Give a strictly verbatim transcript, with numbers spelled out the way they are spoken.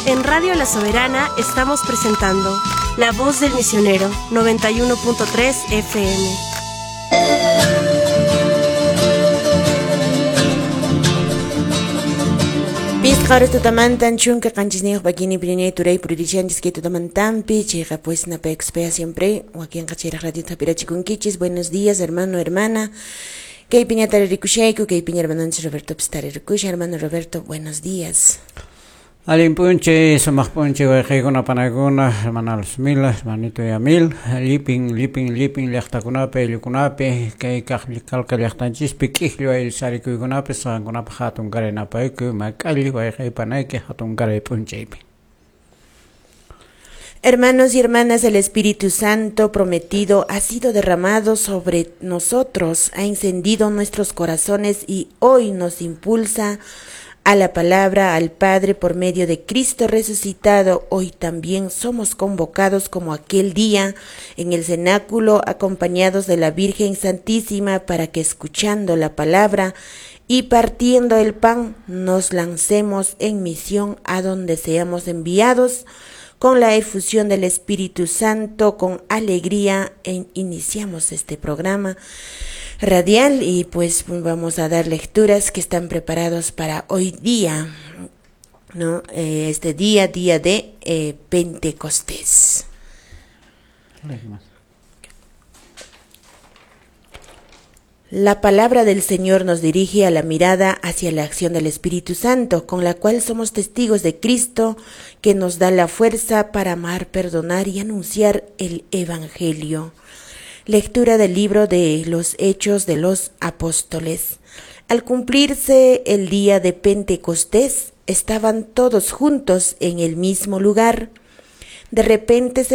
En Radio La Soberana estamos presentando La Voz del Misionero, noventa y uno punto tres F M. Pisqa horas tutamantan chunka qanchisniyuq pakini pirinay turay puririchanchis kay tutamantanpi chayqa pues napaykuspaya siempre wakinqa chayraq radiota hap'irachikunkichis. Buenos días, hermano, hermana. Kay piña taririkushayku, kay piña hermanonchis Roberto pis taririkushan. Hermano Roberto, buenos días. Allin p'unchay, sumaq p'unchay wayqiykuna panaykuna, hermana Luzmila, hermanito Yamil, llipin, llipin, llipin llaqtakunapi, ayllukunapi, kay kaq kalka llaqtanchispi, k'ikllu ayllusarikuykunapi, saqankunapaq hatun karay napaykuy, mak'alli wayqiy panayki hatun karay p'unchaypi. Hermanos y hermanas, el Espíritu Santo prometido ha sido derramado sobre nosotros, ha encendido nuestros corazones y hoy nos impulsa a la palabra, al Padre por medio de Cristo resucitado. Hoy también somos convocados como aquel día en el cenáculo, acompañados de la Virgen Santísima, para que escuchando la palabra y partiendo el pan, nos lancemos en misión a donde seamos enviados. Con la efusión del Espíritu Santo, con alegría, en, iniciamos este programa radial y pues vamos a dar lecturas que están preparados para hoy día, ¿no? Eh, este día, día de eh, Pentecostés. La palabra del Señor nos dirige a la mirada hacia la acción del Espíritu Santo, con la cual somos testigos de Cristo, que nos da la fuerza para amar, perdonar y anunciar el Evangelio. Lectura del libro de los Hechos de los Apóstoles. Al cumplirse el día de Pentecostés, estaban todos juntos en el mismo lugar. De repente se